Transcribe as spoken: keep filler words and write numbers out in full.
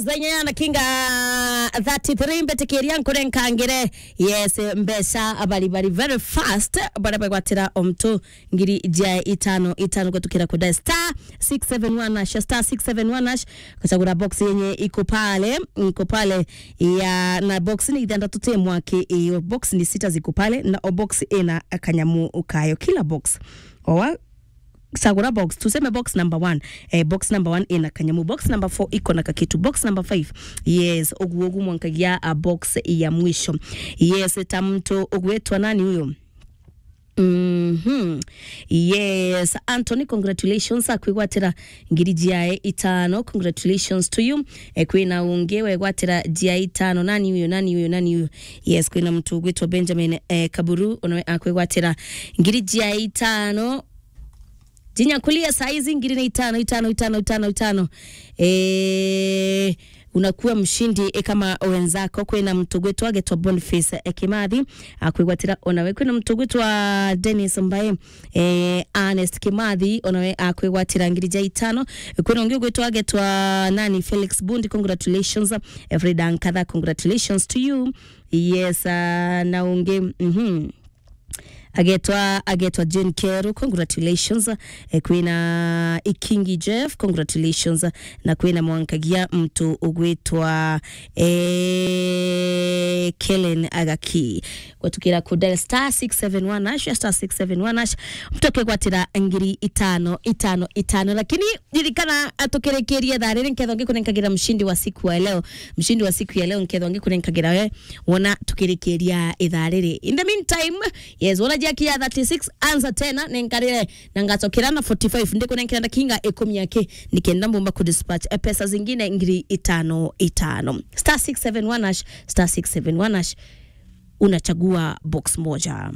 Zenya na kinga thirty-three, mbetikiria nkurenkangire. Yes, mbeca bari bari very fast, bara bagwatira omtu ngiri ja itano itano gutukira kuda star six seven one hash, star six seven one hash, kuchagura box yenye iko pale, iko pale ya, na box ni ithandatu te mwaki iyo, box ni sita ziko pale, na o box ina kanyamu kayo, kila box. Owa, chagura box, tuseme box number one. Eh, box number one ina kanyamu, box number four iko na kakitu, box number five. Yes, uguo ugu mwankagia a box ya mwisho. Yes, ta mtu ugwetwa nani huyo? Mhm. Yes, Anthony, congratulations, akwigwatira ngiri jiae itano. Congratulations to you. Eh, kwina ungi wegwatira jiae itano. Nani huyo? Nani huyo? Nani huyo? Yes, kwina mtu ugwetwa Benjamin, eh, Kaburu, onawe akwigwatira ngiri jiae itano. Jinyakulia saizi ngiri na itano, itano, itano, itano, itano. Eh, unakuwa mshindi, eh, kama wenzako. Kwina mtu gwitwa agetwa Boniface, eh, Kimathi, akwigwatira onawe. Kwina mtu gwitwa Dennis Mbae, eh, Ernest Kimathi, onawe akwigwatira ngiri ja itano. Kwina ungi gwitwa agetwa nani, Felix Bundi, congratulations. Frida Nkatha, congratulations to you. Yes, ah, na ungi, mhm. Agetwa, agetwa Jane Keru, congratulations. Eh, kwina Ikingi Jeff, congratulations. Na kwina mwankagia mtu ugwitwa, eh, Kellen Agaki. Gwatukira ku dial star six seven one hash, star six seven one hash. Mtu akegwatira ngiri itano, itano, itano. Lakini ririkana, atukirikirie thaa riri, nkethwa ngikunenkagira mshindi wa siku wa leo. Mshindi wa siku ya leo, nkethwa ngikunenkagira we, wona tukirikiria ithaa riri. In the meantime, yes, wona jaki ya thirty-six, anza tena, nenkarire, na ngacokera na forty-five, ndikunenkera ndakinga ikumi yake, nikenda mbumba kudispatch, eh, pesa zingine ngiri itano, itano. Star six seven one hash, star six seven one hash, unachagua box moja.